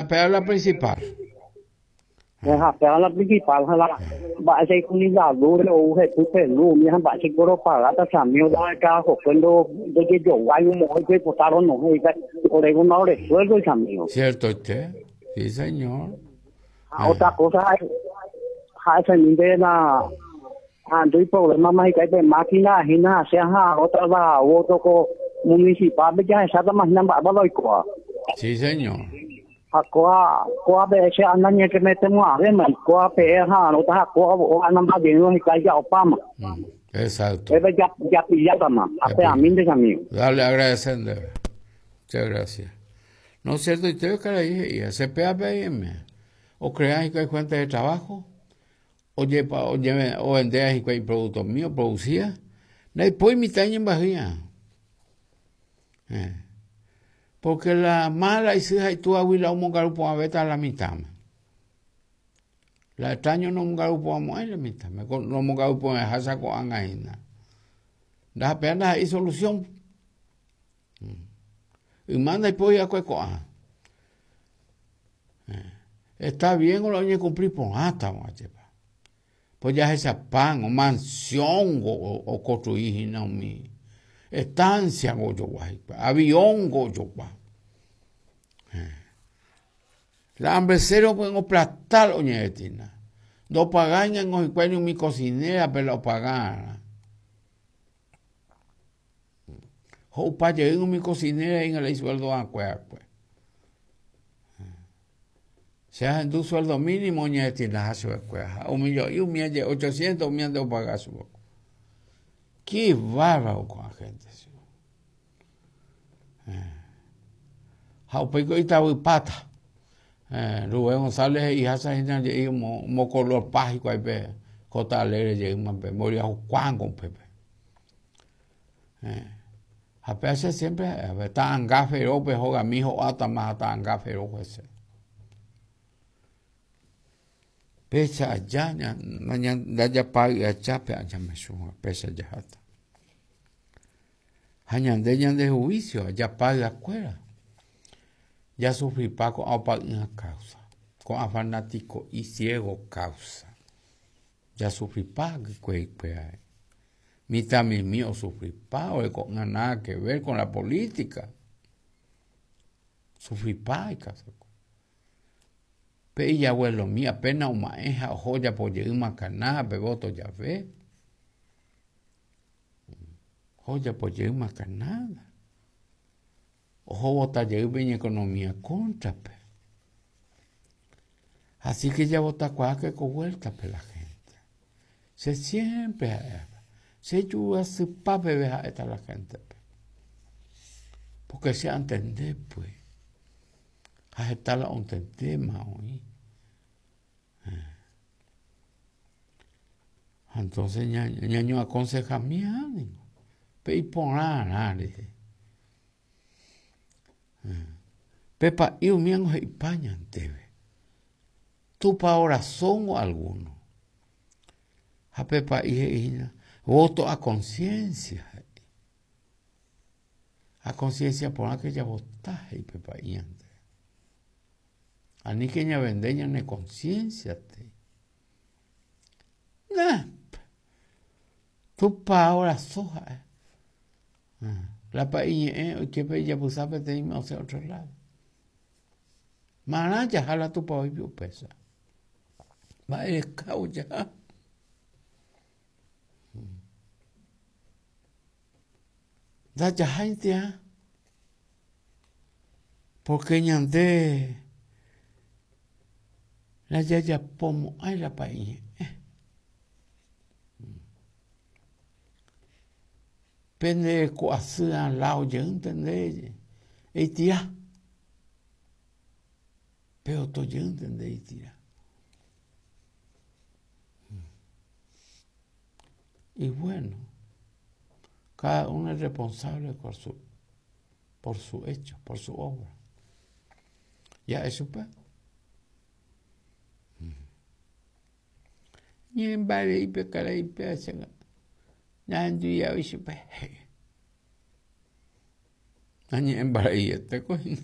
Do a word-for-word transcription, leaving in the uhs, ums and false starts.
Pea la principal. Pea la principal, la mba'e ni la luz o jetu luz, mi mba'e koro pagata chamio da ka jokuendo ndojejoguái omo'õ oipotaron no orego no resuelvo chamio. Cierto usted, sí señor. Otra cosa ha ese de la ando y problema más que hay máquina ajena sea otra la otro ko municipal ya esa máquina va va loikoa. Sí señor. Koa koa be se anda que metemos a ver koa pe ha no ta koa o anda más bien no ya opama. Exacto. Ya ya pillata más. A mí de amigo. Dale, agradeciendo. Muchas gracias. No es cierto, usted que le dije, C P A P M, o crean que hay fuente de trabajo, o lleva, o lleve, o vender que hay productos míos, producía. Después mi taña en bajía. Eh. Porque la mala y si hay tu abuela un garupo a beta a la mitad. La extraño no un garupo a moer la mitad. No un garupo a hasa con angaina. Da pena hay solución. Y manda y polla cuecoa. Está bien o lo oye cumplir por hasta machepa. Pues ya esa pan o mansión o o construir no mi estancia go yo avión go yo la hambre cero pueden aplastar oñetina. No pagan en ni mi cocinera, pero pagan. O pa llegar mi cocinera en el sueldo a cuerpo. Se hacen tu sueldo mínimo oñetina hace un millón y un millón ochocientos un millón de pagar su poco. Qué bárbaro con la gente. Jaupeco y pata. Rubén González y esa gente y mo color págico ahí pe Cota Alegre llegó más pe moría Juan con Pepe. A pesar siempre está angafero pe joga mijo ata más ata angafero ese. Pecha allá ña ña ya paga allá pe allá me suba pecha allá hasta. Hañande ñande juicio allá paga escuela. Ya sufrí paco a una causa, con a fanático y ciego causa. Ya sufrí paco que que mi también mío sufrí paco con nada que ver con la política. Sufrí paco. Pe y abuelo mío apenas una eja o joya por llegar una canada, pe voto ya ve. Joya por llegar una canada. Ojo, bota lleve economía contra, pe. Así que ya bota cuaque con vuelta, pe, la gente. Se siempre, se ayuda su pape, ve a esta la gente, pe. Porque se entender, pues. A esta la entender más hoy. Entonces, ñaño aconseja mi ánimo. Pe y por nada, dije. Pepa y un y paña tebe. Tu pa oración o alguno. A Pepa y voto a conciencia. A conciencia por aquella votaje y Pepa y antes. A ni que ña vendeña ne conciencia te. Nah. Tu pa oración. La pa y eh que pe ya pusape te o sea otro lado. Maraya jala tu pa hoy pesa. Va el cau ya. Da ya gente ah. Porque ñande la ya ya pomo ay la pa y eh. Pende coasía lao ya entendé. Y tira. Pero to ya entendé y tira. Y bueno, cada uno es responsable por su, por su hecho, por su obra. Ya eso pues. Ni en vale y pecar y pecar. Nandu ya vishu pe. Ani embarayete coño.